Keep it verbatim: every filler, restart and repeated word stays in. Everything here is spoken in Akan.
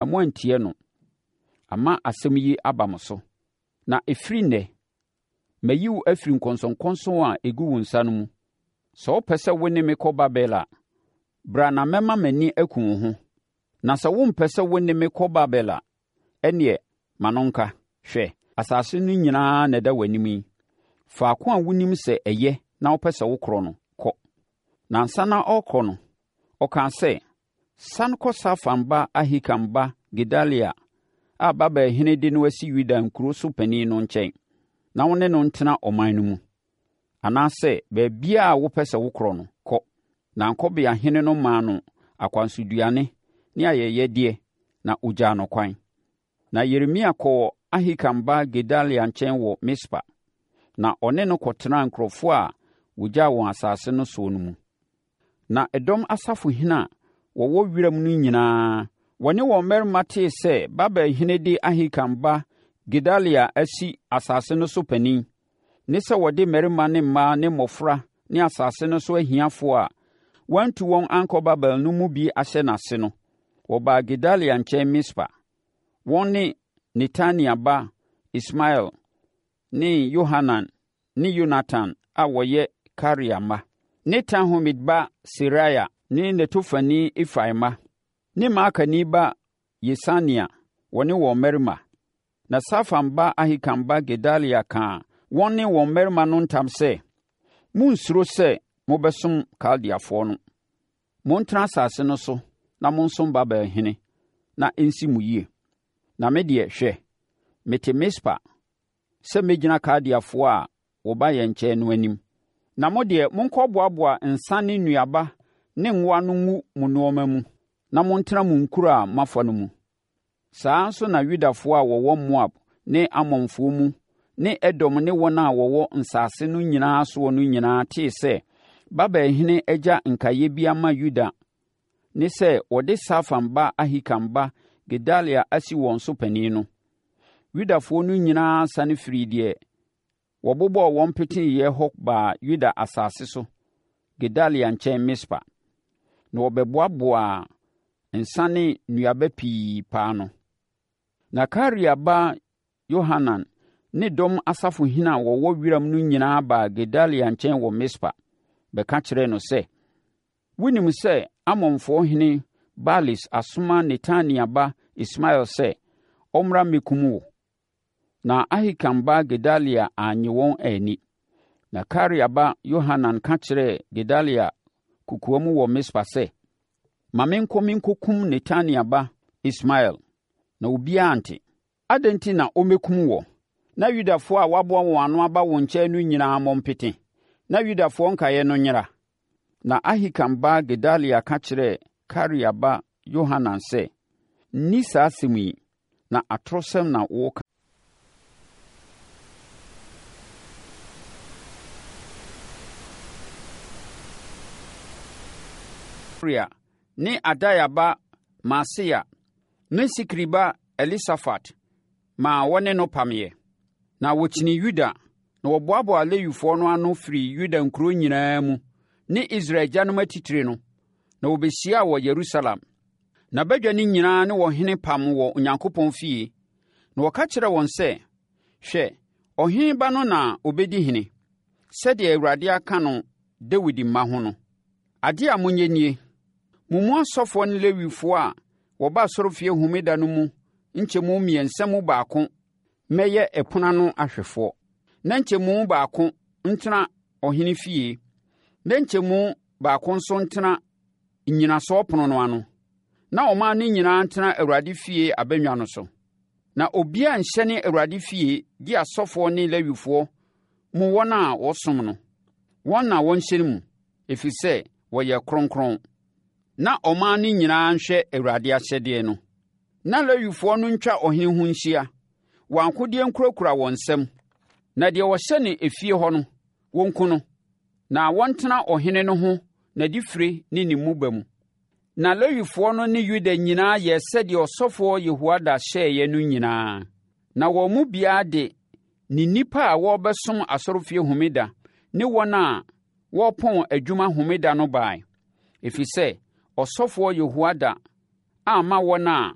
moantie no, ama asɛm yi aba mo so. Na ɛfiri nnɛ, mayi wo afiri nkɔnsɔnkɔnsɔn a ɛgu wo nsa no mu. Sɛ wopɛ sɛ wo ne me kɔ Babel a, bra na mɛma m'ani aku wo ho. Na sɛ wompɛ sɛ wo ne me kɔ Babel a, ɛnneɛ ma no nka. Hwɛ, asase no nyinaa na ɛda w'anim yi. Faako a wonim sɛ ɛyɛ na wopɛ sɛ wokorɔ no, kɔ. Na ansa na ɔrekɔ no, ɔkaa sɛ, Sane kɔ Safan ba Ahikam ba Gedalia a Babelhene de no asi Yuda nkuro so panin no nkyɛn, na wo ne no ntena ɔman no mu. Anaasɛ baabiara a wopɛ sɛ wokorɔ no, kɔ. Na ankɔbeahene no maa no akwansoduane ne ayɛyɛdeɛ, na ɔgyaa no kwan. Na Yeremia kɔɔ Ahikam ba Gedalia nkyɛn wɔ Mispa, na ɔne no kɔtenaa nkurɔfoɔ a wɔgyaa wɔn asase no soɔ no mu. Na ɛdɔm asafohene a wɔwɔ wiram no nyinaa, wɔne wɔn mmarima tee sɛ Babelhene de Ahikam ba Gedalia asi asase no so panin, ne sɛ wɔde mmarima ne mmaa ne mmɔfra ne asase no so ahiafoɔ a wɔantu wɔn ankɔ Babel no mu bi ahyɛ n'ase no, wɔbaa Gedalia nkyɛn Mispa. Wɔn ne Netania ba Ismael ne Yohanan ne Yonatan a wɔyɛ Karea mma, ne Tanhumet ba Seraia ne Netofani Efai mma, ne Maakani ba Yesania, wɔne wɔn mmarima. Na Safan ba Ahikam ba Gedalia kaa wɔn ne wɔn mmarima no ntam sɛ, “Monnsuro sɛ mobɛsom Kaldeafoɔ no. Montena asase no so na monsom Babelhene, na ɛnsi mo yie. Na me deɛ, hwɛ, mete Mispa sɛ mɛgyina Kaldeafoɔ a wɔba yɛn nkyɛn no anim. Na mo deɛ, monkɔboaboa nsã ne nnuaba ne ngo ano ngu mo nneɛma mu, na montena mo nkuro a moafa no mu.” Saa ara nso na Yudafoɔ a wɔwɔ Moab ne Amonfoɔ mu ne Edom ne wɔn a wɔwɔ nsase no nyinaa soɔ no nyinaa tee sɛ Babelhene agya nkaeɛ bi ama Yuda ne sɛ wɔde Safan ba Ahikam ba Gedalia asi wɔn so panin no, Yudafoɔ no nyinaa sane firii deɛ wɔbobɔɔ wɔn peteeɛ hɔ baa Yuda asase so Gedalia nkyɛn Mispa, na wɔbɛboaboaa nsa ne nnuaba pii paa ano. Na Karea ba Yohanan ne dɔm asafohene a wɔwɔ wiram no nyinaa baa Gedalia nkyɛn wɔ Mispa, bɛka kyerɛɛ no sɛ, “Wonim sɛ Amonfoɔ hene Baalis asoma Netania ba Ismael sɛ ɔmmra mmɛkum wo.” Na Ahikam ba Gedalia annye wɔn anni. Na Karea ba Yohanan ka kyerɛɛ Gedalia kokoam wɔ Mispa sɛ, “Ma menkɔ menkɔkum Netania ba Ismael, na obiara ante. Adɛn enti na ɔmmɛkum woɔ, na Yudafoɔ a wɔaboa wɔn ano aba wo nkyɛn no nyinaa mmɔ mpete, na Yudafoɔ nkaeɛ no nyera?” Na Ahikam ba Gedalia ka kyerɛɛ Karea ba Yohanan sɛ, “Nni saa asɛm yi, na atorosɛm na woreka. Ne Adaia ba Maaseia ne Sikri ba Elisafat maa wɔne no pameeɛ. Na wɔkyinii Yuda, na wɔboaboaa Lewifoɔ no ano firii Yuda nkuro nyinaa mu ne Israel agyanom atitire no, na wɔbɛhyiaa wɔ Yerusalem. Na badwa no nyinaa ne ɔhene pam wɔ Onyankopɔn fie. Na wɔka kyerɛɛ wɔn sɛ, “Hwɛ, ɔhene ba no na ɔbɛdi hene, sɛdeɛ Awurade aka no Dawid mma ho no. Adeɛ a monyɛ nie: Mo mu asɔfoɔ ne Lewifoɔ a wɔba asɔrefie homeda no mu nkyɛmu mmiɛnsa mu baako mmɛyɛ ɛpono ano ahwɛfoɔ, na nkyɛmu baako ntena ɔhene fie, na nkyɛmu baako nso ntena nnyinasoɔ pono no ano, na ɔman no nyinaa ntena Awurade fie abannwa no so. Na obiara nhyɛne Awurade fie gye asɔfoɔ ne Lewifoɔ mu wɔn a wɔsom no. Wɔn na wɔnhyɛne mu, ɛfiri sɛ wɔyɛ kronkron. Na ɔman no nyinaa nhwɛ Awurade ahyɛdeɛ no. Na Lewifoɔ no ntwa ɔhene ho nhyia, wɔn akodeɛ nkurakura wɔn nsam. Na deɛ ɔhyɛne efie hɔ no, wɔnku no. Na wɔntena ɔhene no ho n'adifire ne ne mmuba mu. Na Lewifoɔ no ne Yuda nyinaa yɛɛ sɛdeɛ ɔsɔfoɔ Yehoiada hyɛeɛ no nyinaa. Na wɔn mu biara de ne nnipa a wɔrebɛsom asɔrefie homeda ne wɔn a wɔrepɔn adwuma homeda no baeɛ, ɛfiri sɛ ɔsɔfoɔ Yehoiada amma wɔn a